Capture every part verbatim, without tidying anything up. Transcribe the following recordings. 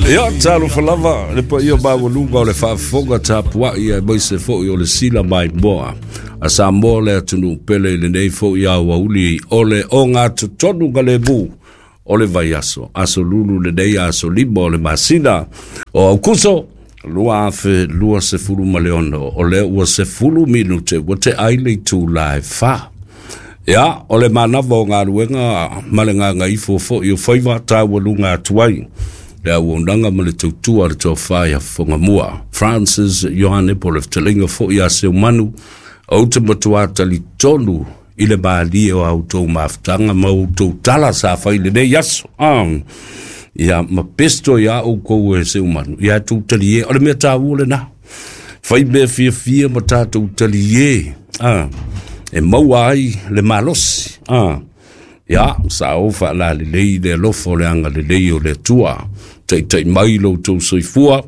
Ia, talofa lava le paia maualuga o le faafofoga tapuai aemaise foi o le sila maimoa a Samoa le atunuu pele i lenei foi aoauli o le ogatotonu galemu o le vaiaso, aso Lulu lenei, aso lima o le masina o Aukuso lua afe lua sefulu ma le ono, o lea ua sefulu minute ua te ai le itula e fa. Ia, o le manava o galuega ma le gagaifo foi o faiva taualuga atu ai le auaunaga ma le tautua a le tofa ia Fofogamua Francis Ioane, po o le fetalaiga foi ia Seumanu. Ou te matuā talitonu i le malie o a outou mafutaga ma outou tala sa fai lenei aso. Ah. Ia, ma pesto ia oukou e Seumanu, ia tou talie, o le mea tāua lena. Fai mea fiafia ma tatou talie. Ah. E maua ai le malosi. Ah. Ia, sa ou faalalelei le alofa o le agalelei o le Atua. Taitai mai lo outou soifua,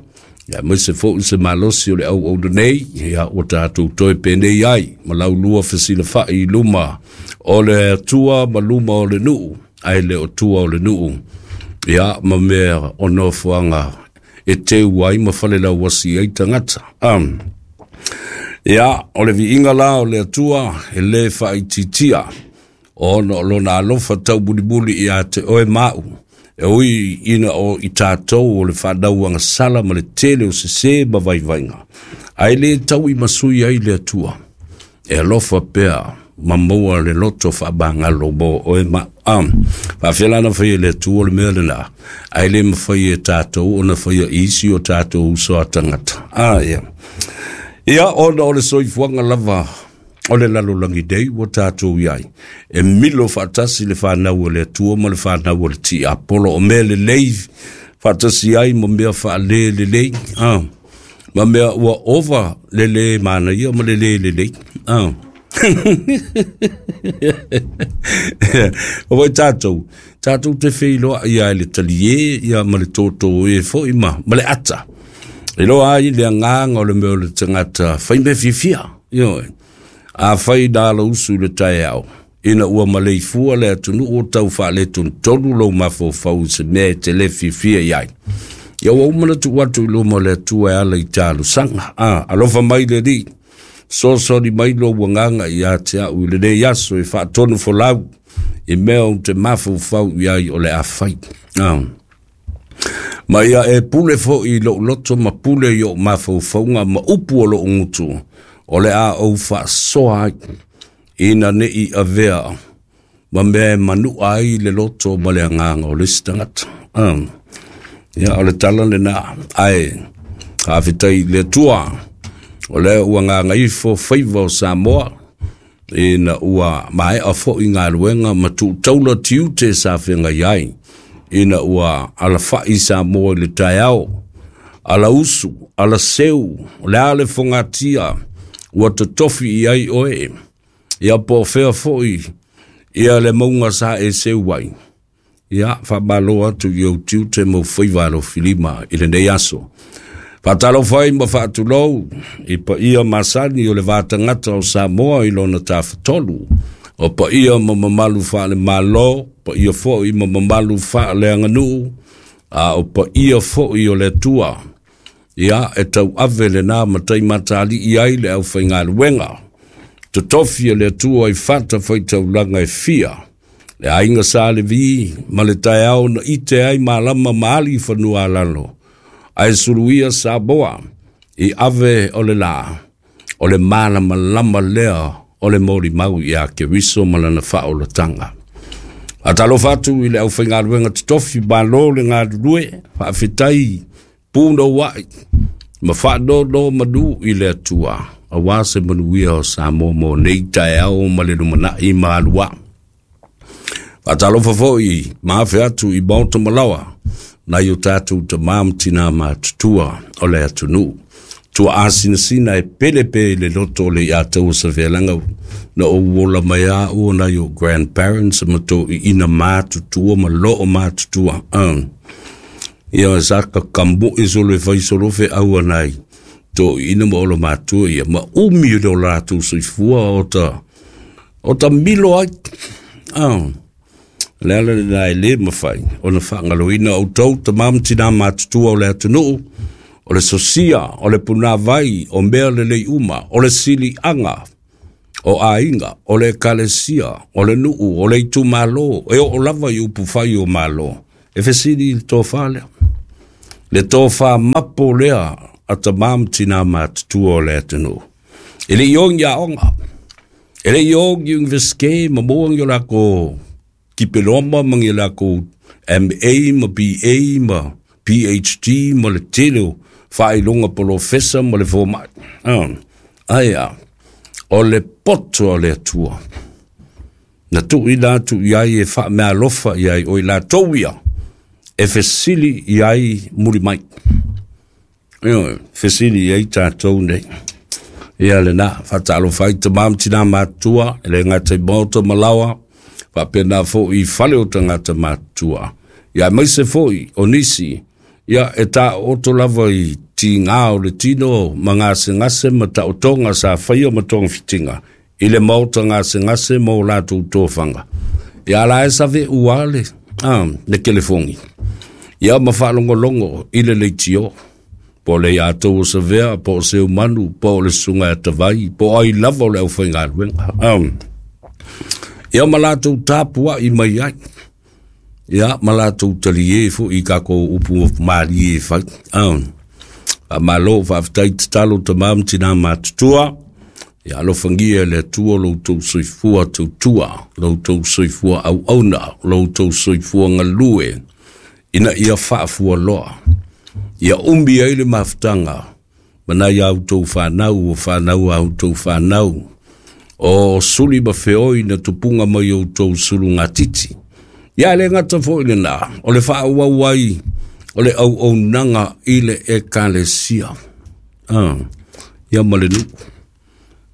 ia aemaise foi se malosi o le auauna nei, ia ua tatou toe penei ai, ma laulua fesilafai i luma o le Atua ma luma o le nuu, ae le o tua o le nuu. Ia, ma mea o nofoaga e teu ai ma falelauasi ai tagata. Um. Ia, o le viiga la o le Atua e lē faaitiitia, ona o lona alofa taumulimuli ia te oe ma'u, e ui ina o i tatou o le fanau agasala ma le tele o sesē ma vaivaiga, ae lē tau i masui ai le Atua e alofa pea ma maua le loto faamagalo mo oe ma am faafelana faia le Atua le mea lenā, ae lē mafai e tatou ona faia isi o tatou uso a tagata. Ah, ia. Ia, ona o le soifuaga lava o le lalolagi nei ua tatou iai, e milo faatasi le fanau o le Atua ma le fanau o le tiapolo, o mea lelei faatasi ai ma mea faalē lelei, ah. Ma mea ua ova le lē manaia ma le lē lelei. Ah. O vai tatou, tatou te feiloai ia le talie ia ma le tōtō e foi ma, ma le ata. E loa ai le agaga o le mea o le tagata fai mea fiafia. Ioe. A fai na ala usu i le taeao, ina ua maleifua le atunuu o tau faaletonu lou mafaufau i se mea e te lē fiafia i ai. Ia ua uma na tuu atu i luma o le Atua e ala i talosaga. Ah, alofa mai le Alii, soasoani mai lou agaga ia te au i lenei aso e faatonu folau i mea ou te mafaufau i ai o le a fai. Ah. Ma ia e pule foi i lou loto ma pule i ou mafaufauga ma upu o lou gutu, o le a ou faasoa ai, ina nei avea ma mea e manua ai le loto ma le agaga o le isi tagata. Ah. Ia, o le tala lenā, ae faafetai i le Atua, o lea ua gagaifo faiva o Samoa, ina ua maea foi galuega ma tuutaula tiute sa feagai ai, ina ua alafai Samoa i le taeao, ala usu, ala seu, o le a le fogatia, ua totofi i ai oe, ia po o fea foi, ia le mauga sa e seu ai. Ia, faamalo atu i ou tiute ma ou faiva alofilima i lenei aso. Faatalofa ai ma faatulou i paia masani o le vatagata o Samoa i lona tafatolu, o paia ma mamalu faale-Malo, paia foi ma mamalu faaleaganuu, a o paia foi o le Atua. Ia, e tauave lenā matai matali'i ai le aufaigaluega totofi e le Atua i fata faitaulaga e fia, le aiga Sa Levi ma le taeao na ite ai malama ma ali i fanua alalo, ae suluia Samoa i ave o le lā, o le malamalama lea o le molimau ia Keriso ma lana faaolataga. Faatalofa atu i le aufaigaluega totofi, malo le galulue, faafetai punouai ma faanono manu i le Atua, auā se manuia o Samoa mo nei taeao ma le lumanai ma aluā. Faatalofa foi ma afe atu i maota malaoa, nai o tatou tamā ma tinā matutua o le atunuu. Tua asinasina e pele pe i le loto o le ia taua savealaga na ou ola mai a ua nai o grandparents ma toiina matutua ma loo matutua. Uh. Ia sa ka kamui solo e fai solo feau nai toiina ma olo matua ia ma umi o le o latou soifua o ta o ta milo ai. Uh. Le ala lena e lē mafai ona faagaloina outou tamā ma tinā matutua o le atunuu, o le sosia o le punāvai o mea lelei uma, o le siliaga o aiga, o le ekalesia, o le nuu, o le itumālō, e oo lava i upufai o mālō. E fesili i le tofā lea, le tofā mapo lea a tamā ma tinā matutua o le atunuu. E leʻi ogi aoga, e leʻi ogi universite ma maua ni o lakou dipeloma ma ni lakou M A ma B A ma P H D ma le tele o faailoga polofesa ma le fomai. Ae a o le poto o le Atua na tuuina atu i ai e faameaalofa i ai o i latou ia e fesili i ai muli mai. Ioe, fesili i ai tatou nei. Ia lena, faatalofa ai tamā ma tinā matutua, e le gata i maota ma laoa, faapena foʻi i fale o tagata matutua. Ia aemaise foʻi o nisi, ia e taooto lava i tigā o le tino ma gasegase ma taotoga sa faia ma togafitiga i le maota gasegase ma o latou tofaga. Ia la e saveʻu a le, ah, le telefoni. Ia ma faalogologo i le leitio. Po o le iatou o Savea, po o Seumanu, po o le susuga ia Tavai, po o ai lava o le aufaigaluega. Um, ia ma latou tapuaʻi mai ai. Ia ma latou taliē foʻi i kakou upu malie e fai. Um, faamālō faafetai tatalo tamā ma tinā matutua. Ia alofagia e le Atua lo outou soifua tautua, lo outou soifua auauna, lo outou soifua galue, ina ia faafualoa. Ia umi ai le mafutaga, ma nai a outou fanau, o fanau a outou fanau, o suli ma feoi na tupuga mai outou sulugatiti. Ia le gata foʻi lenā, o le faaauau ai o le auaunaga i le ekalesia. Ah, ia ma le nuu.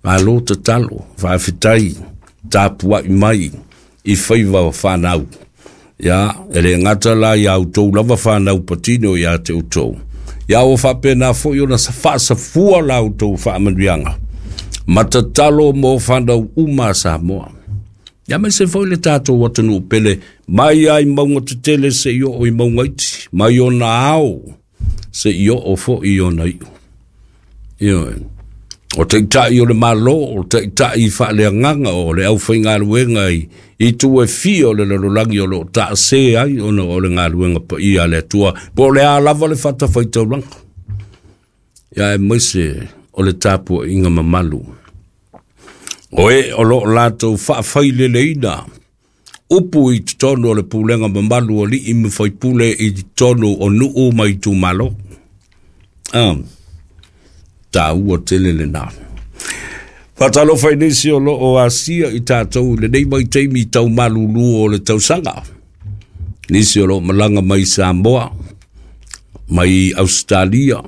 Malo tatalo, faafetai, tapuaʻi mai i faiva o fanau. Ia, e le gata la ia outou lava fanau patino ia te outou. Ia ua faapena foʻi ona faasafua la outou faamanuiaga. Ma tatalo mo fanau uma a Samoa. Ia aemaise foʻi le tatou atunuu pele mai ai mauga tetele seia oo i mauga iti, mai ona ao seia oo foʻi i ona iʻu. Ioe. O taʻitaʻi o le mālō, o taʻitaʻi faaleagaga o le aufaigaluega i, i tu e fia o le lalolagi o loo taasē ai ona o le galuega paia a le Atua, po o le a lava le fatafaitaulaga. Ia aemaise o le tapuaiga mamalu. O e o loo latou faafaileleina upu i totonu o le pulega mamalu o alii ma faipule i totonu o nuu ma itumalo. Ah, taua tele lenā. Faatalofa i nisi o loo asia i tatou i lenei vaitaimi tau malulu o le tausaga. Nisi o loo malaga mai Samoa, mai Australia,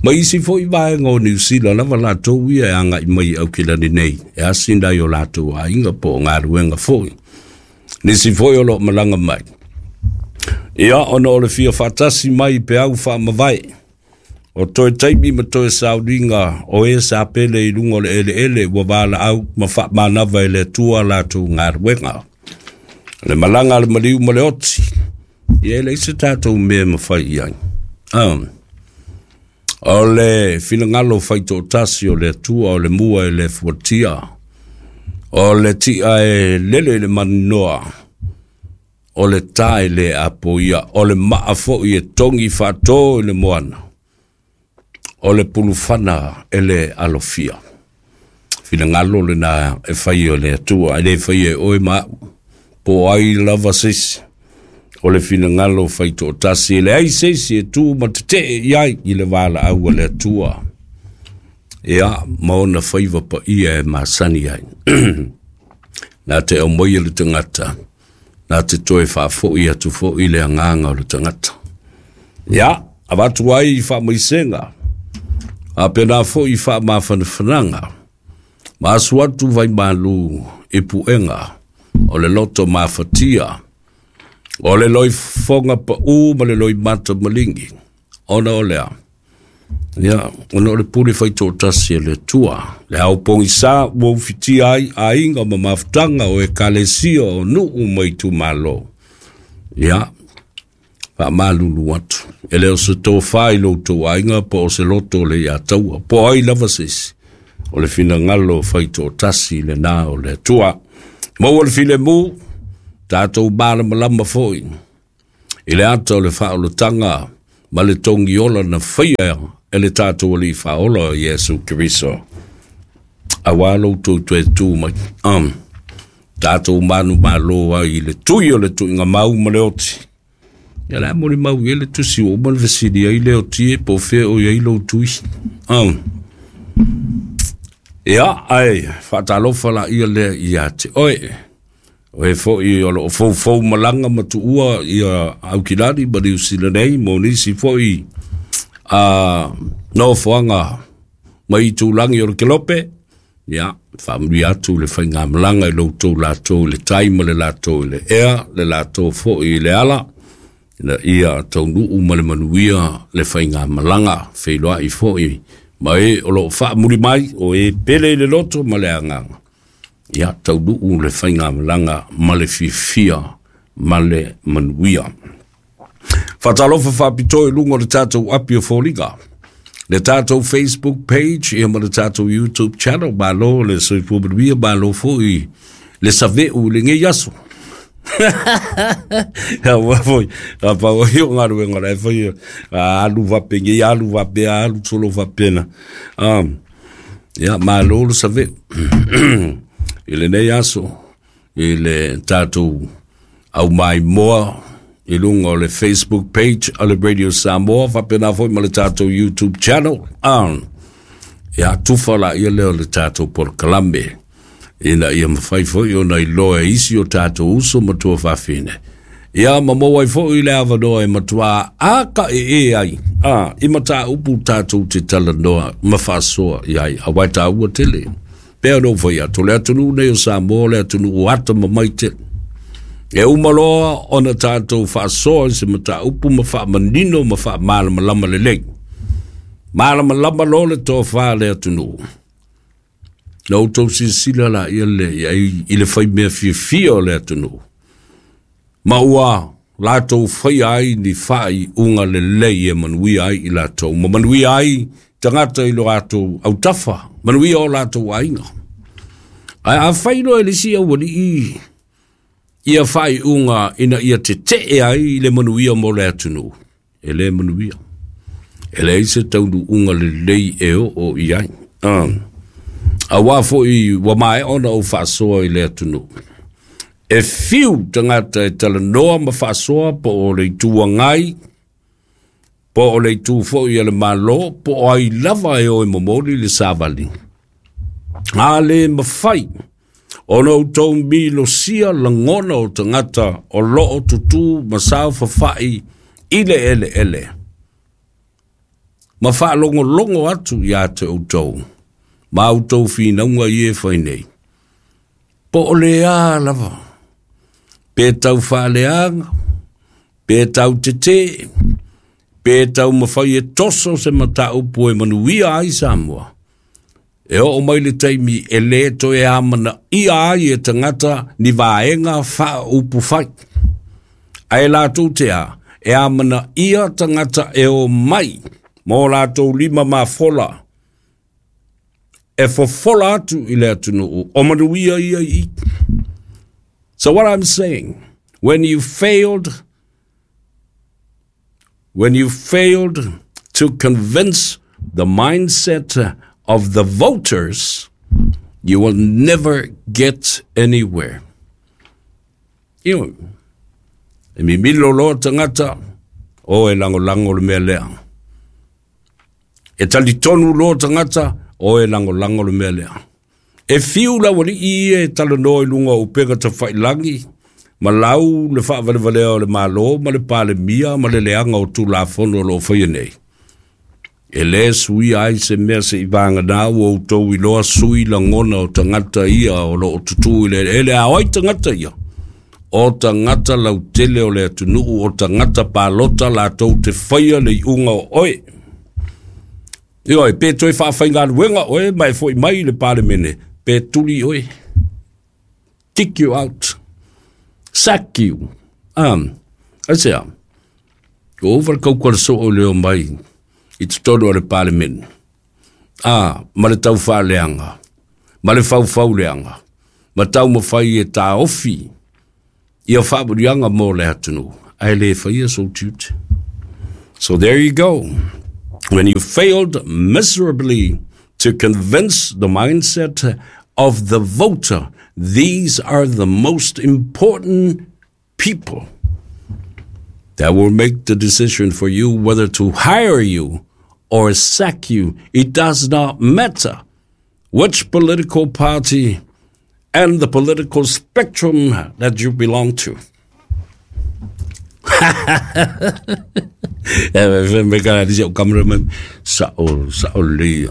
mai isi foʻi vaega o Niu Sila lava latou ia e agaʻi mai Aukilani nei, e asi nai o latou aiga po o galuega foʻi. Nisi foʻi o loo malaga mai. Ia, ona o le fia faatasi mai peau faamavae. O toe taimi ma toe sauniga o e sa pele i luga o le eleele ua valaau ma faamanava e le Atua latou galuega. Le malaga a le maliu ma le oti. Ia e leai se tatou mea e mafai i ai. Ah. O le finagalo faitoatasi o le Atua o le mua e le fuatia. O le ti'a e lele i le maninoa. O le tā e le apoia. O le maa foʻi e togi faatō i le moana. O le pulufana e le alofia. Finagalo lenā e fai o le Atua. E le fai e oe ma au. Po ai lava se isi. O le finagalo faitoatasi. E leai se isi e tu ma tetee i ai i le valaau a le Atua. Ia, ma ona faiva paia e masani ai. Na te aumaia le tagata, na te toe faafoʻi atu foʻi le agaga o le tagata. Ia, avatu ai i faamaisega, a pena foʻi faamafanafanaga, ma asu atu vaimalū i puega o le loto mafatia, o le loifofoga paʻū ma le loimata maligi, ona o lea. Ia, ona o le pule faitoatasi e le Atua, le ao pogisā ua ufitia ai aiga ma mafutaga o ekalesia o nuu ma itumālō. Ia, faamalulu atu. E le o se tofā i lo outou aiga po o se loto o le ia taua. Po ai lava se isi. O le finagalo faitoatasi lenā o le Atua. Maua le filemu, tatou malamalama foi i le ata o le faaolataga ma le togiola na faia e le tatou Alii Faaola o Iesu Keriso. Auā lo outou toe tu mai. Um, tatou manumalo ai i le tui o le tuiga mau ma le oti. Ia le a molimau i ai le tusi ua uma ona fesili ai le oti e po o fea o i ai lou tui. Um, ia, ae faatalofa laia lea ia te oe. O e foi o loo foufou malaga ma tuua ia Aukilani ma Niu Sila nei mo nisi foi a nofoaga mai itulagi o le kelope. Ia, faamanuia atu le faigamalaga i lo outou latou i le tai ma le latou i le ea, le latou foi i le ala, ina ia taunuu ma le manuia le faigamalaga. Feiloai foi ma e o loo faamuli mai, o e pele i le loto ma le agaga. Ia, taunuu le faigamalaga ma le fiafia ma le manuia. Faatalofa faapitoa i luga o le tatou api o foliga, le tatou Facebook page ia ma le tatou YouTube channel. Malo le soifua manuia, malo foi le saveu i lenei aso. Aua foi, a pau ai o galuega la e faia, a alu faapenei, alu faapea, alu solo faapena. Um, ia, malo le saveu i lenei aso, i le tatou aumaimoa i luga o le Facebook page o le Radio Samoa, faapena foi ma le tatou YouTube channel. Um, ia, tufa laia lea o le tatou polokalame, ina ia mafai foi ona iloa e isi o tatou uso ma tuafafine. Ia, ma maua ai foi le avanoa e matuā akaee ai a, i mataupu tatou te talanoa ma faasoa i ai, auā e taua tele. Pea ona ou fai atu, o le atunuu nei o Samoa, o le atunuu atamamai tele. E uma loa ona tatou faasoa i se mataupu ma faamanino ma faamalamalama lelei, malamalama loa le tofā a le atunuu. Na outou silasila laia lea i ai i le faimea fiafia o le atunuu, ma ua latou faia ai ni faaiuga lelei e manuia ai i latou, ma manuia ai tagata i lo latou autafa, manuia o latou aiga. Ae afai loa e le isi aualii ia faaiuga ina ia tetee ai le manuia mo le atunuu, e le manuia. E leai se taunuuga lelei e oo i ai. Um, auā foi ua maea ona ou faasoa i le atunuu. E fiu tagata e talanoa ma faasoa po o le Itu Agai, po o le itu foi a le Malo, po o ai lava e o e momoli le savali. A le mafai ona outou milosia lagona o tagata o loo tutū ma saofafai i le eleele, ma faalogologo atu ia te outou, ma outou finauga ia e fai nei. Po o le a lava, pe tau faaleaga, pe tau tetē, pe taumafai e toso se mataupu e manuia ai Samoa. E oo mai le taimi e lē toe amanaia ai e tagata ni vaega faaupufai. Ae latou te a, e amanaia tagata e omai ma o latou lima mafola e fofola atu i le atunuu o manuia ia i i. So what I'm saying, when you failed, when you failed to convince the mindset of the voters, you will never get anywhere. Ioe, e mimilo loa tagata, o e lagolago le mea lea. E talitonu loa tagata, o e lagolago le mea lea. E fiu le aualii ia e talanoa i luga o upega tafailagi, ma lau le faavalevalea o le Malo ma le Palemia ma le leaga o Tulafono o loo faia nei. E lē suia ai se mea seia vagana ua outou iloa sui lagona o tagata ia o loo tutū i le eleele. A o ai tagata ia? O tagata lautele o le atunuu, o tagata palota latou te faia le iuga o oe. Ioe, pe toe faafaigaluega oe ma e foi mai i le Palemene, pe tuli oe. Kick you out. Sack you. Um, Aisea, ua ova le kauka le soo le o mai i totonu o le Palemene. A, ma le taufaaleaga, ma le faufauleaga, ma taumafai e taofi ia faamanuiaga mo le atunuu, ae le faia sou tiute. So there you go. When you failed miserably to convince the mindset of the voter, these are the most important people that will make the decision for you whether to hire you or sack you. It does not matter which political party and the political spectrum that you belong to. E me ka di o cameraman sa o sa o le.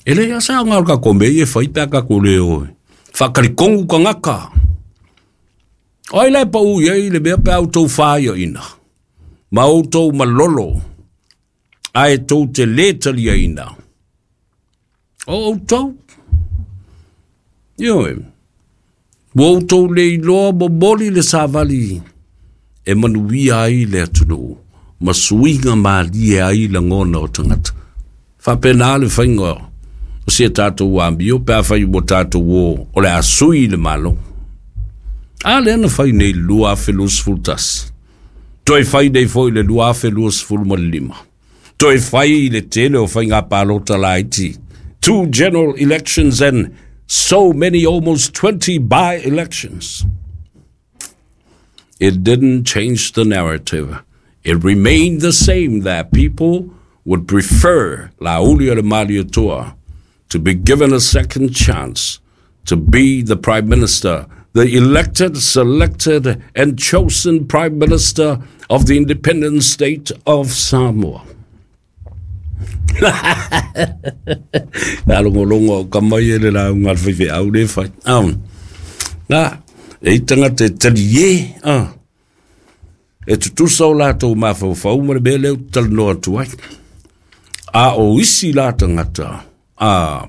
E le sa nga ka ko me e fai pa ka ko le o. Fa ka kongu ka ngaka. Oi le pa u ye le me pa o tau fa yo ina. Ma o tau malolo. Ai tau te le talia ina. O o tau. Ioe. Ua outou le iloa momoli le savali e manuia ai le atunuu ma suiga malie ai lagona o tagata. Faapena le faiga o sia tatou amio pe afai ua tatou o o le a sui le malo. A lea na fai nei le lua afe luasefulu tasi. Toe fai nei foi le lua afe luasefulu ma le lima. Toe fai le tele o faiga palota laiti. Two general elections and so many, almost twenty by-elections. It didn't change the narrative. It remained the same that people would prefer Laaulialemalietoa to be given a second chance to be the Prime Minister, the elected, selected, and chosen Prime Minister of the independent state of Samoa. Alongolongo o ka mai e le launga le faifeau le fai. Nā, e i tangata e tali e, e tutusa o latou mafaufau ma le mea lea ou te talanoa atu ai. A o isi la tagata, a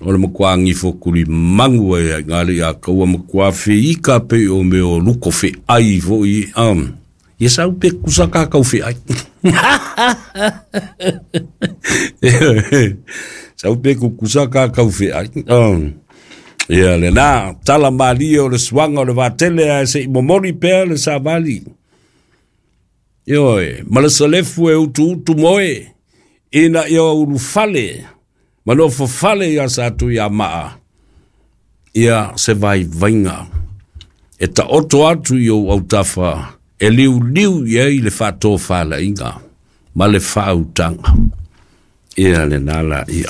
o le makuā gifo kulimagu ai ai ngā le ia kaua makuā feika pe o mea o luko feai foʻi um, ia sau pe kusa kakau feai. Sau pe kukusa kakau feai. Um, ia le nā, tala malie o le suaga o le vatele ae seʻi momoli pea le savali. Ioe, ma le salefu e utuutu moe, ina ia ulufale, ma nofofale ia sa atu ia maa, ia se vaivaiga. E taoto atu i ou autafa, e liuliu i ai le faatofalaiga ma le faautaga. Ia le nā la ia.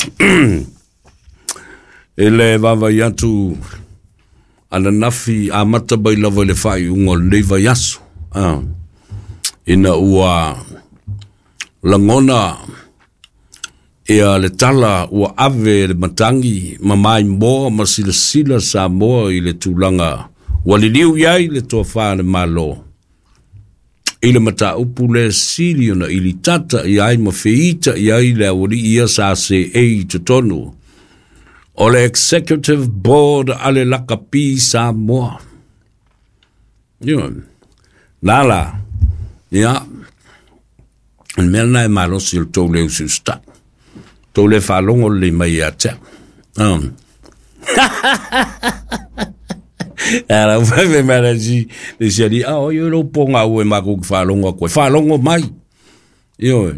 E le vaavai atu ananafi amata mai lava i le faaiuga o lenei vaiaso. Ah. Ina ua lagona ia le tala ua ave le matagi ma maimoa ma silasila Samoa i le tulaga ua liliu i ai le toafā le Malo. I le mataupu le sili ona ilitata i ai ma feita i ai le aualii ia sa seei i totonu o le Executive Board a le Lakapi Samoa. Ia, nā la, ia, le mea lena e malosi o le tou le usiusitaʻi. Tou le faalogo lelei mai ia te au. Um. Ala ua mai le si le si ali a o yo lo ponga ue ma ku faalogo aku e faalogo mai. Ioe.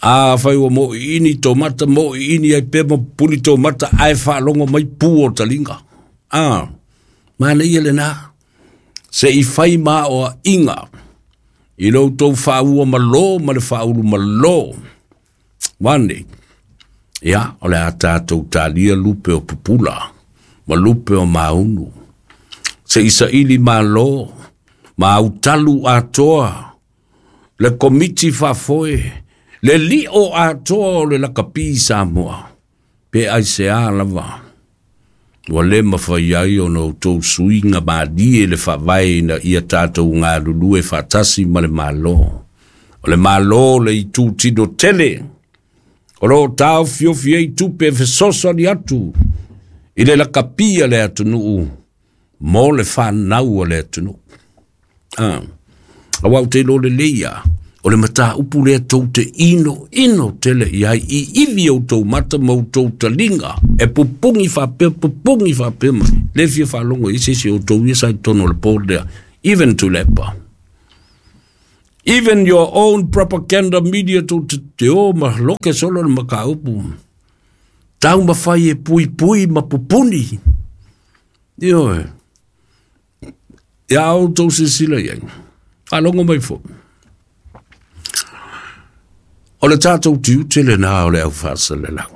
A fai ua moʻiʻini to mata moʻiʻini ai pea ma pupuni to mata ae faalogo mai pu o taliga. A manaia lenā seʻi fai maoaʻiga i lo outou faaua malō ma le faaulu malō. Wane, ia, o le a tatou talia lupe o pupula, ma lupe o maunu. Se isaʻili mālō, ma autalu atoa, le komiti faafoe, le liʻo atoa o le lakapi Samoa, pe aiseā lava. Ua le mafai ai ona outou suiga malie le faavae ina ia tatou galulue faatasi ma le Malo. O le Malo le itutino tele, o loo taofiofi ai tupe e fesoasoani atu i le lakapia le atunuu mo le fanau o le atunuu. Ah. Auā ou te iloa lelei lava, o le mataupu lea tou te inoino tele i ai i ivi outou mata ma outou taliga e pupugi faapea pupugi faapea mai le fia faalogo i se isi o outou ia sa i totonu o le board lea, even Tuilaepa. Even your own propaganda media tou te te o ma loke solo le mataupu. Taumafai e puipui ma pupuni. Ioe. Ia outou silasila i ai. Faalogo mai foi. O le tatou tiute lenā o le au faasalelau.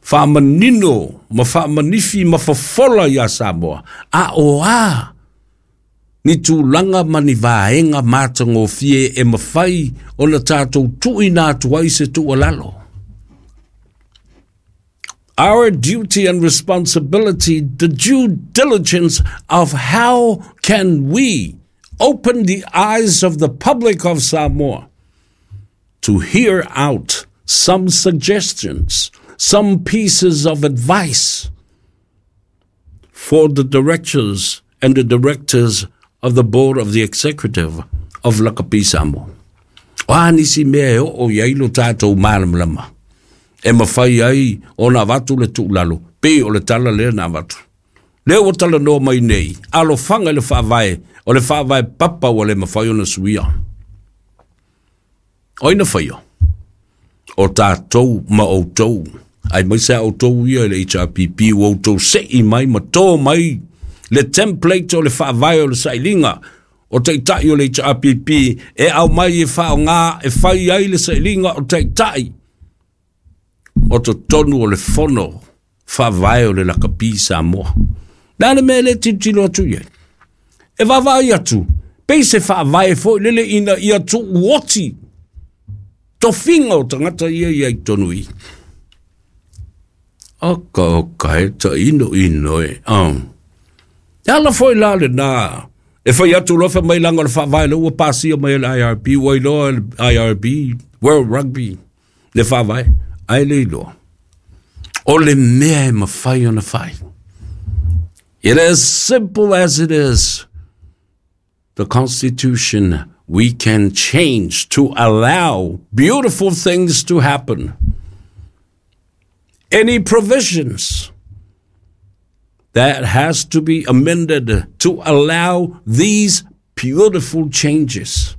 Faamanino ma faamanifi ma fofola iā Samoa, a o a ni tulaga ma ni vaega matagofie e mafai ona tatou tuuina atu ai se tuualalo. Our duty and responsibility, the due diligence of how can we open the eyes of the public of Samoa to hear out some suggestions, some pieces of advice for the directors and the directors of the board of the executive of Lakapi Samoa. O a nisi mea e oo i ai lo tatou malamalama e mafai ai ona avatu le tuualalo pei o le tala lea na avatu. Lea ua talanoa mai nei, alofaga i le faavae, o le faavae papa ua le mafai ona suia. O ai na faia? O tatou ma outou. Aemaise a outou ia i le H R P P ua outou sei mai ma tō mai le template o le faavae o le sailiga o taitai o le H R P P e aumai e faaaoga e fai ai le sailiga o taitai o totonu o le fono faavae o le Lakapi Samoa. Le a le mea e le tilotilo atu i ai? E vaavaai atu, pei se faavae foi lele ina ia tuuoti tofiga o tagata ia ia i totonu i. Oka oka e ta ino ino e. Oh. E ala foi la lenā e fai atu loa fai mai leaga o le faavae lea ua pasia mai e le I R B, ua iloa e le I R B, World Rugby, le faavae, ae le iloa. O le mea e mafai ona fai. It is simple as it is. The Constitution we can change to allow beautiful things to happen. Any provisions that has to be amended to allow these beautiful changes.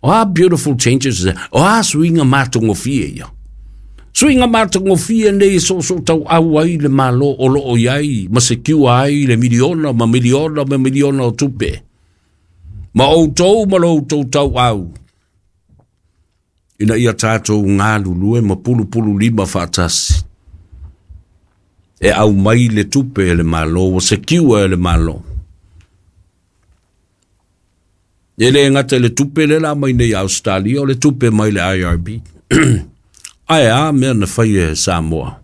O a beautiful changes? O a suiga matagofie ia? Suiga matagofie nei e soosoo tauau ai le Malo o loo i ai ma secure ai le miliona ma miliona ma miliona o tupe. Ma outou ma lo outou tauau. Ina ia tatou galulue ma pulupulu lima faatasi. E aumai le tupe e le Malo, ua secure e le Malo. E le gata i le tupe lea la aumai nei i Australia, o le tupe mai le I R B. Ae a mea na fai e Samoa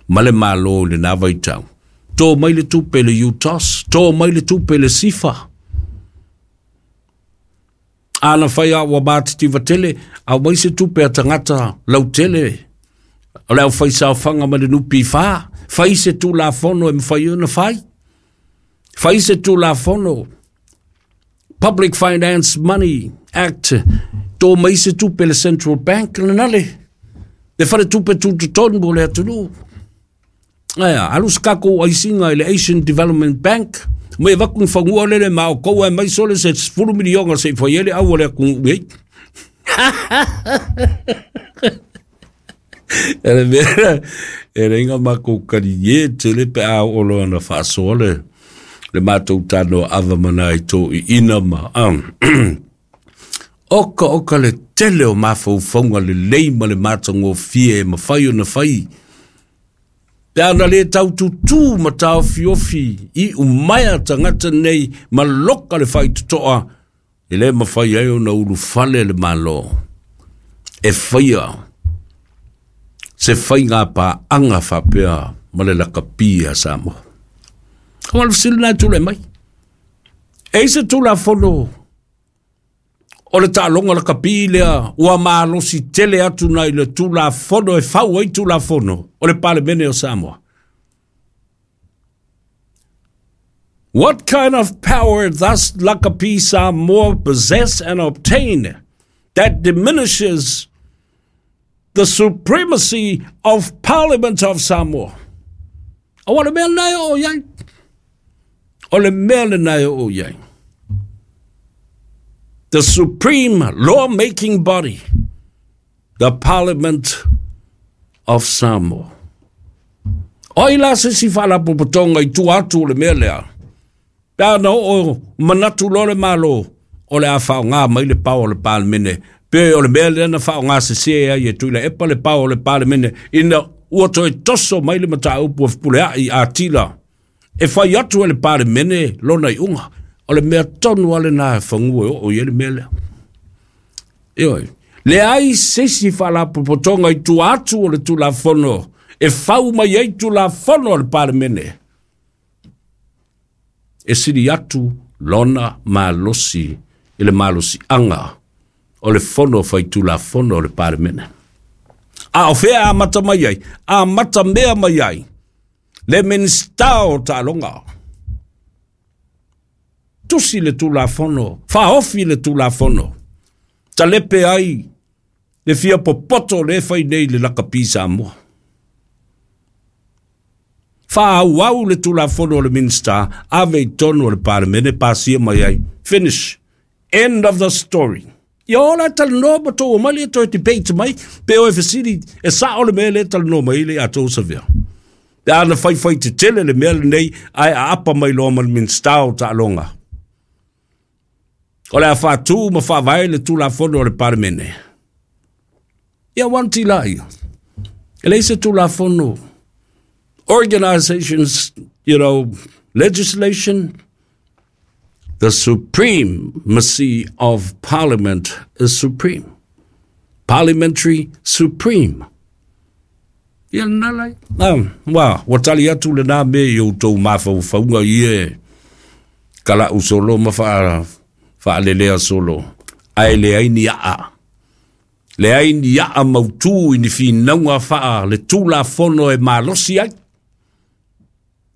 ma le Malo i lenā vaitau. Tō mai le tupe i le U T O S, tō mai le tupe i le S I F A. A na fai a ua matitiva tele, aumai se tupe a tagata lautele, o le aufaisaofaga ma le N P F A, fai se tulafono e mafai ona fai. Fai se tulafono, Public Finance Money Act, tō mai se tupe le Central Bank, lena le, le fale tupe tutotonu o le atunuu. Aia, alu se tatou aisiga i le Asian Development Bank, mai avatu ni fanua lele ma o kou ae mai sole se sefulu miliona se i fai ai le au o le atunuu nei. E le mea, e leiga matou kalie tele pe a oo loa na faasoa le, le matou tanoa ava ma nai toʻiʻina ma um, oka oka le tele o mafaufauga lelei ma le matagofie e mafai ona fai. Pe ana le taututū ma taofiofi i umaea tagata nei ma loka le faitotoa, e le mafai ai ona ulufale le Malo. E faia se faiga paaga faapea ma le lakapi a Samoa. Aua le fesili lena e tulai mai. E i se tulafono o le taaloga lakapi lea ua malosi tele atu nai le tulafono e fau ai tulafono o le Palemene o Samoa. What kind of power thus Lakapi Samoa possess and obtain that diminishes the supremacy of Parliament of Samoa? O le mea lena e oo i ai. O le mea lena e oo i ai. The supreme law-making body, the Parliament of Samoa. O ai la se isi faalapotopotoga i tua atu o le mea lea? Pe a na oo manatu loa le Malo o le a faaaoga mai le power o le Palemene, pe o le mea lea na faaaoga sese ai e Tuilaepa le power o le Palemene ina ua toe toso mai le mataupu a Fepuleai Atila e fai atu e le Palemene lona iuga. O le mea tonu lava lena e fagua e oo i ai le mea lea. Ioe, leai se isi faalapotopotoga i tua atu o le Tulafono e fau mai ai Tulafono a le Palemene e sili atu lona malosi i le malosiaga o le Fono Faitulafono o le Palemene. A o fea amata mai ai? Amata mea mai ai le Minisita o Taaloga. Tusi le Tulafono, faaofi le Tulafono, talepe ai le fia popoto le fai nei le Lakapi Samoa. Faaauau le Tulafono o le Minisita, ave i tonu o le Palemene, pasia mai ai. Finish. End of the story. Ia ola e talanoa ma tou omai lea toe debate mai, pe o e fesili e sao le mea lea e talanoa mai le a tou savea. Pe a na faifai tetele le mea lenei ae aapa mai loa ma le Minisita o Taaloga. O le a faatu ma faavae le Tulafono o le Palemene. Ia wanti la ia. E leai se Tulafono. Organizations, you know, legislation. The supremacy of Parliament is supreme. Parliamentary supreme. Ia lena lai. Um, wa, ua tali atu lena mea i outou mafaufauga ia e kala'u solo ma faa, faalelea solo. Ae leai ni aa. Leai ni aa mautū i ni finauga faa le Tulafono e malosi ai.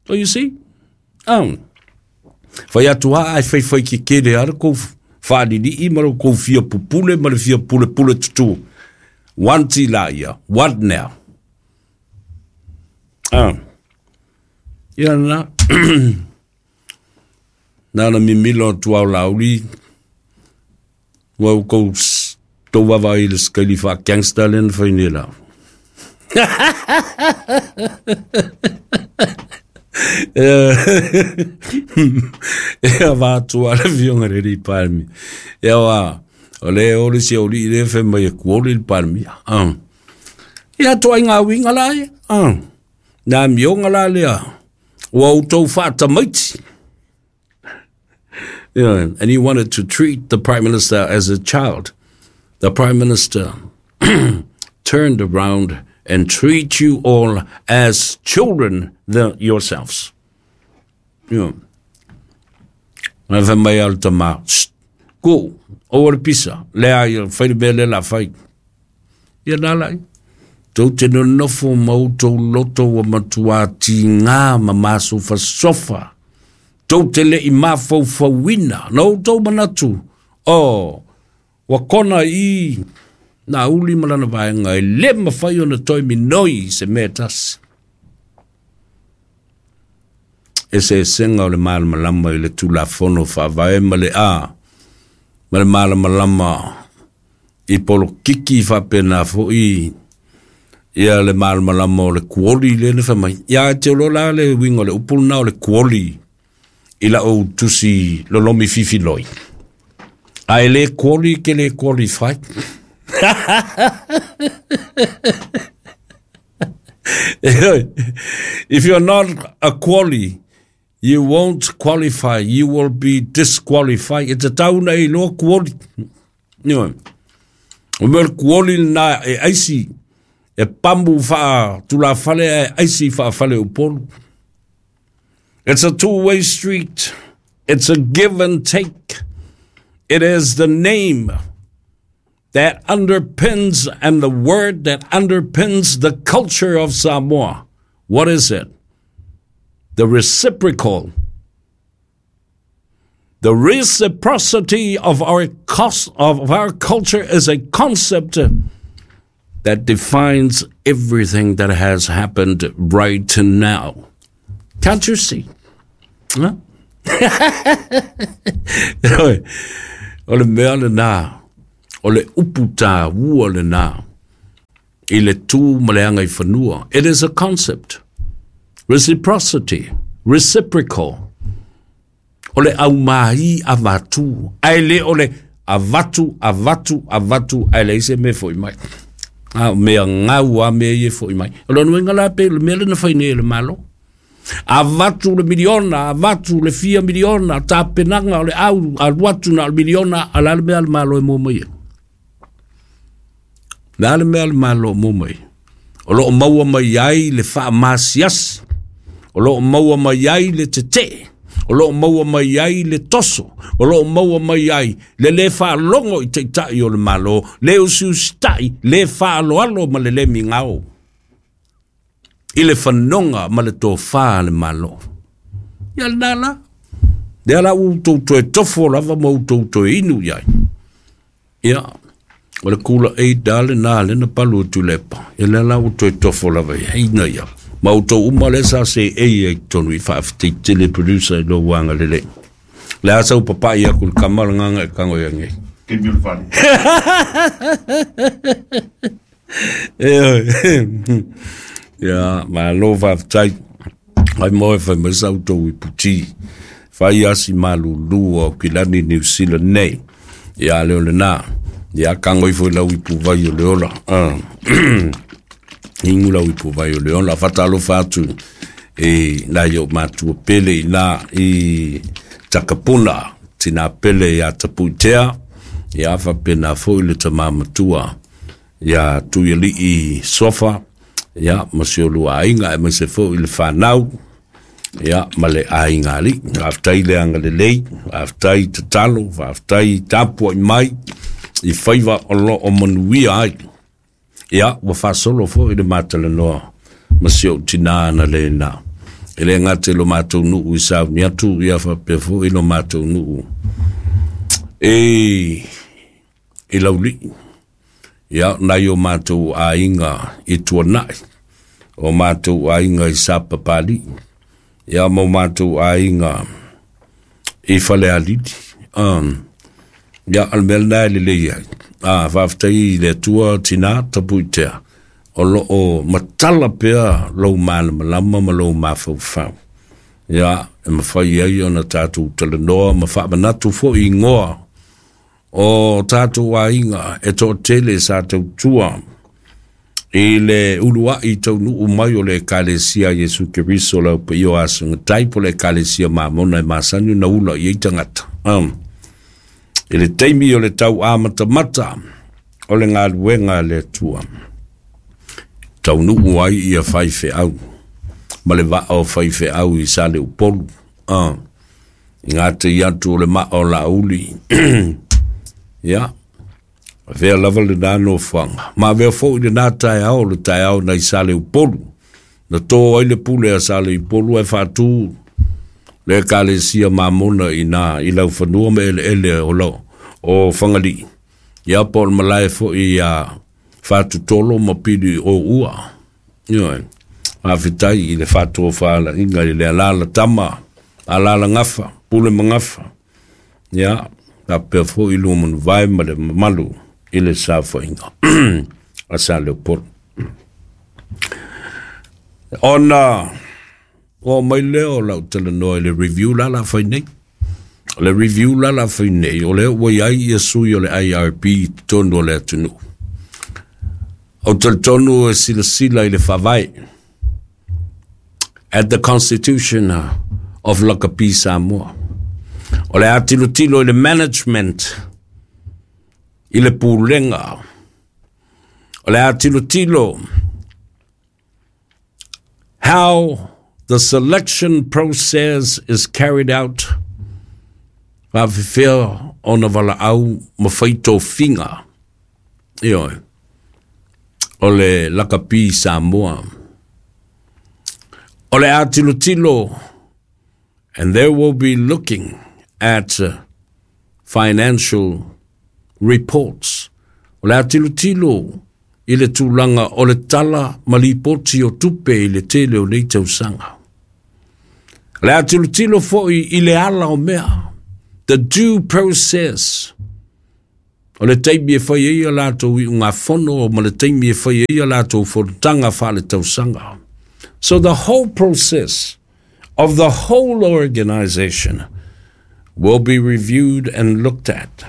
So you see? Um, fai atu lava ae faifai kekele lava le kou faalilii ma le kou fia pupule ma le fia pulepule tutū. Wanti la ia. What now? Ah. Ia lena. Na na mimilo atu au lauli. Ua oukou tou vaavaai i le sikaili faa-gangster lea na fai nei la. Ia vatua le afioga i le alii Palemia. Ia aua o lea e o le isi aualii lea fai mai e kuoli le Palemia. Ah. Ia ituaiga uiga la ia. Ah. Na amioga la lea ua outou faatamaiti. Yeah, and he wanted to treat the Prime Minister as a child. The Prime Minister turned around and treat you all as children the, yourselves. Yeah. Na fai mai a le tama, ku, oua le pisa, lea ia, fai le mea lea la fai. Ia nā lai. Tou te nonofo ma outou loto ua matuā tigā ma masofasofa. Tou te le i mafaufauina. Na outou manatu, oh, ua kona i nā uli ma lana vaega e le mafai ona toe minoi i se mea e tasi. Eseesega o le malamalama i le Tulafono Faavae ma le A ma le malamalama i polokiki faapena foi ia le malamalama o le kuoli lea na fai mai. Ia te iloa la le uiga o le upu lena o le kuoli i lau tusi lolomi fifiloi. A e le kuoli ke le qualify. If you're not a quali, you won't qualify, you will be disqualified. E tatau ona e iloa kuoli. Ioe. O mea o le kuoli lena e aisi, e pamu faa-tulafale ae aisi faa-faleupolu. It's a two-way street. It's a give and take. It is the name that underpins and the word that underpins the culture of Samoa. What is it? The reciprocal The reciprocity of our, cost, of our culture is a concept that defines everything that has happened right now. Can't you see? Huh? O le mea lena, o le upu tāua lena, i le tū ma le anga i fanua. It is a concept. Reciprocity. Reciprocal. O le au mahi avatu. Ai le o le avatu, avatu, avatu, ai le ise me foi mai. A mea ngau a mea ie foi mai. O le nuenga la pe, le mea le na whai nei le malo. Avatu le miliona, avatu le fia miliona, ta penanga o le au, aluatu na le miliona, ala le mea le malo e mō mai. Le ale mea le malo mō mai. O loo maua mai ai le wha masiasi. O loo maua mai ai le tete. O loo maua mai ai le toso. O loo maua mai ai le le wha longo i teitai o le malo, le usiusitai, le wha aloalo ma le le mingao. I le whanonga ma le tōwha le malo. Ia le nala. Le ala u tau toe tofo lava ma u tau toe inu iai. Ia. O le kula e dale nā le na palu tu lepa. Ia le ala u toe tofo lava ia. Ina ia. Ma u tau uma le sa se e ia i tonu i whaafiti tele producer i lo wanga lele. Le asa u papa ia kul kamala nganga e kango ia ngei. Ke mi ulfani. E ia, ma lo whaftai. Ai moe whai masau tau i puti. Whai asi malulu o kilani New Zealand nei. Ia leo le nā. Ia kango ifo i lau ipu vai o le ola. Ingu lau ipu vai o le ola. Whatalo whatu e nā i o mātua pele i nā i takapuna. Tina pele ia tapuitea. Ia whapena fo i le tamamatua. Ia tuiali i sofa. Ia, ma se o lua ainga e ma se fo i le whanau. Ia, ma le ainga ali. Aftai le anga le lei, aftai tatalo, aftai tapua i mai, i whaiwa o lo o manuia ai. Ia, ua whasolo fo i le mātala noa, ma se o tina na le nā. E le ngate lo mātou nuu i sau ni atu, ia whapea fo i lo mātou nuu. E, e lauli. Ia, nai o mātou ainga i tuanai. O mātou ainga i sapapali. Ia, mo mātou ainga i whalealili. Um, ia, al mea nai le lei ai. Ah, whaftai le tua tina tapu i tea. O lo o matala pea lou malamalama ma lou mawhauwhau. Ia, e mawhai ai ona tātou talanoa ma whaamanatu fo i ngoa. O tātou ainga e tō tele sa tau tua i le ulua i tau nuu mai o le ekalesia Yesu Keriso lau pe io asunga taipo le ekalesia mamona e masani na ula i ei tangata. Um, i le teimi o le tau amatamata o le ngaluenga le tua. Tau nuu ai ia whai wheau. Ma le waa o whai wheau i sa le upolu. Um, i ngā te iatu o le maa o la uli. Ia, vea lava le nā no whanga. Ma vea fo i le nā tae ao, le tae ao nei sa le upolu. Na tō ai le pule a sa le upolu e whātū. Le ekalesia mamona i nā, i lau whanua me ele ele o lau, o whangali. Ia po le malae fo i a whātu tolo ma pili o ua. Ia, a whitai i le whātu o whaala inga i le alala tama, alala ngafa, pule mangafa. Ia, ka pea fo i lua manu vai ma le mamalu i le safoaiga a Sa Leopolo. Ona o mai lea o lau talanoa i le review la la fai nei. O le review la la fai nei, o lea ua iai ia sui o le I R P i totonu o le atunuu. O talitonu e silasila i le faavae at the Constitution of Lakapi Samoa. O le atilotilo i le management, i le pulega. O le atilotilo how the selection process is carried out. Whawhiwhea o na wala au ma whaito finga. Ioe. O le Lakapi Samoa. O le atilotilo, and they will be looking at uh, financial reports. O le a tilotilo i le tulaga o le tala ma lipoti o tupe i le tele o nei tausaga. O le a tilotilo foi i le ala o mea, the due process. O le taimi e fai ai a latou iugafono ma le taimi e fai ai a latou fonotaga faaletausaga. So the whole process of the whole organization will be reviewed and looked at.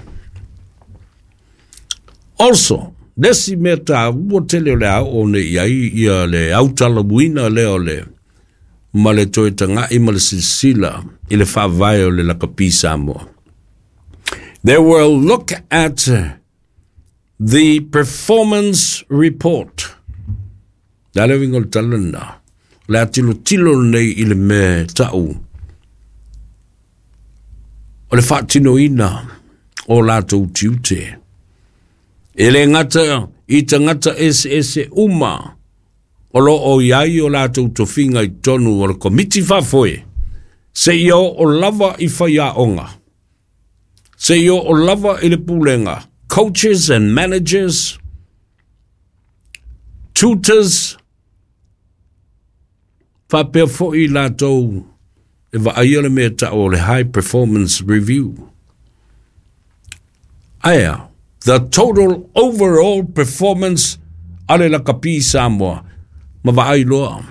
Also, le isi mea taua tele o le a oo nei i ai ia le autalamuina lea o le ma le toe taga'i ma le silasila i le faavae o le Lakapi Samoa. They will look at the performance report. Le a le uiga o le tala lena? O le a tilotilo lenei i le mea ta'u o le faatinoina o latou tiute. E le gata i tagata eseese uma o loo i ai o latou tofiga i totonu o le Komiti Faafoe, seia oo lava i faiaoga, seia oo lava i le pulega, coaches and managers, tutors, faapea foi latou e vaaia le mea ta'u o le high performance review. Aea, the total overall performance a le Lakapi Samoa ma vaai loa.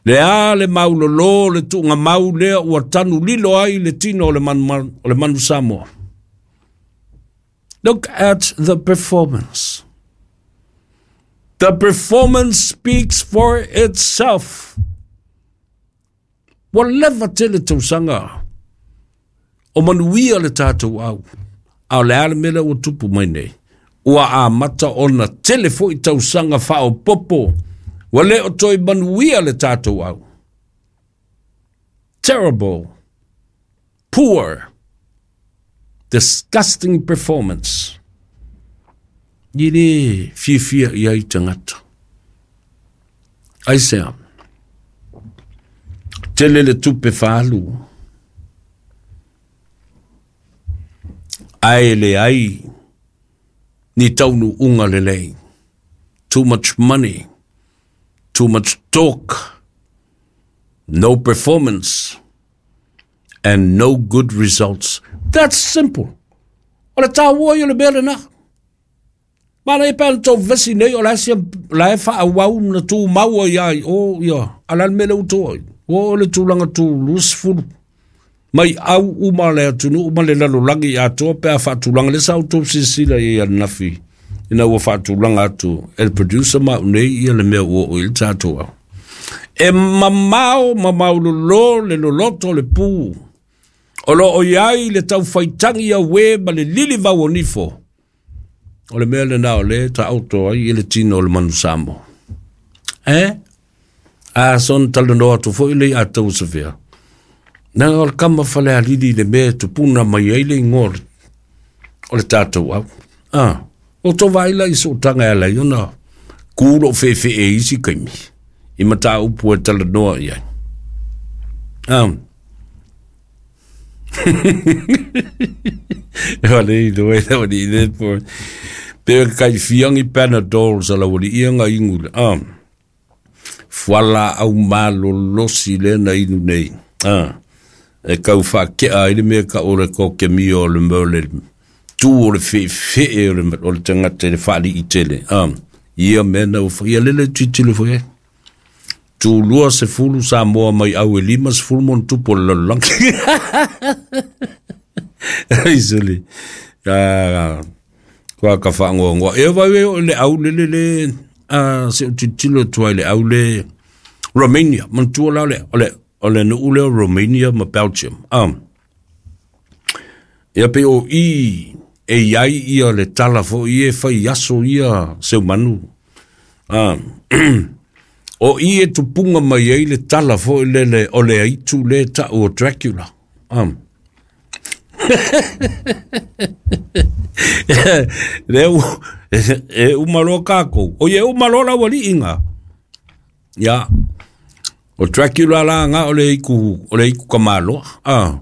Le a le maulolo le tuugamau lea ua tanu lilo ai le tino o le manu, o le manu Samoa. Look at the performance. The performance speaks for itself. Ua leva tele tausaga o manuia le tatou au. A o le a le mea lea ua tupu mai nei? Ua amata ona tele foi tausaga faaopoopo ua le o toe manuia le tatou au. Terrible, poor, disgusting performance. E le fiafia i ai tagata. Aisea? Tele le tupe faaalu, ae leai ni taunuuga lelei. Too much money, too much talk, no performance, and no good results. That's simple. O le taua ia o le mea lena. Manaia pe ana tou vesi nei o la e sia la e faaauau na tumau ai ai o ia a le a le mea lea ua tou ai. Ua oo i le tulaga tu luasefulu mai au uma le atunuu ma le lalolagi atoa pe a faatulaga lea sa outou silasila i ai ananafi ina ua faatulaga atu e le producer ma au nei ia le mea ua oo i le tatou au. E mamao mamao lolo le loloto o le pu o lo o i ai le taufaitagi auē ma le lilivau o nifo. O le mea lena o lea e taoto ai i le tino o le manu Samoa. Eh? A soona talanoa atu foi le ia tou Sofia. Leaga o le kama Falealili le mea e tupuna mai ai le igoa o le tatou au. Ah, o tō vaai la i sootaga e ala ai ona kū lou feefee i isi kaimi i mataupu e talanoa i ai. Ah. E wale i the way that wale i le po. Pe kai fiangi Panadol sa la wale ia nga ingu le. Ah. Fuala au malolosi le na inu nei. Ah. E kau whakea ai le mea ka o le ko ke mio o le mea o le tū o le feefee o le, o le tangata i le whaali'i tele. Ah. Ia mea na ua ia lele titilo foi e. Tulua sefulu Samoa mai au e lima sefulu ma ona tupu o le lalolagi. Ai sole. Ah, kua ka whaangoangoa. E vai e o le au le le le, ah, se o tilotilo atu ai le au le Romania. Manatua la o le, o le, o le nuu lea o Romania ma Belgium. Ah. Ia pe o i e iai ia le tala foi e fai aso ia Seumanu. Ah. O i e tupunga mai ai le tala foi lele o le aitu le ta'u o Dracula. Ah. Le u, e uma loa kākou. O ia e uma loa lau ali'i ngā. Ia, o Dracula la ngā o le iku, o le iku kamaloa. Ah.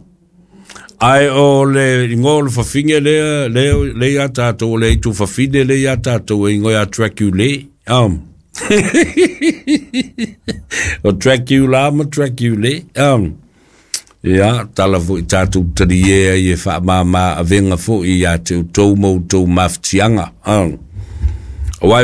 Ae o le igoa o le fafine lea lea lea ia tatou, o le aitu fafine lea ia tatou e igoa ia Dracula. Um. O Dracula ma Dracula. Um. Ia, tala fo'i tatou talie ai e faamāmā avega fo'i ia te outou ma outou mafatiaga. Um. Auā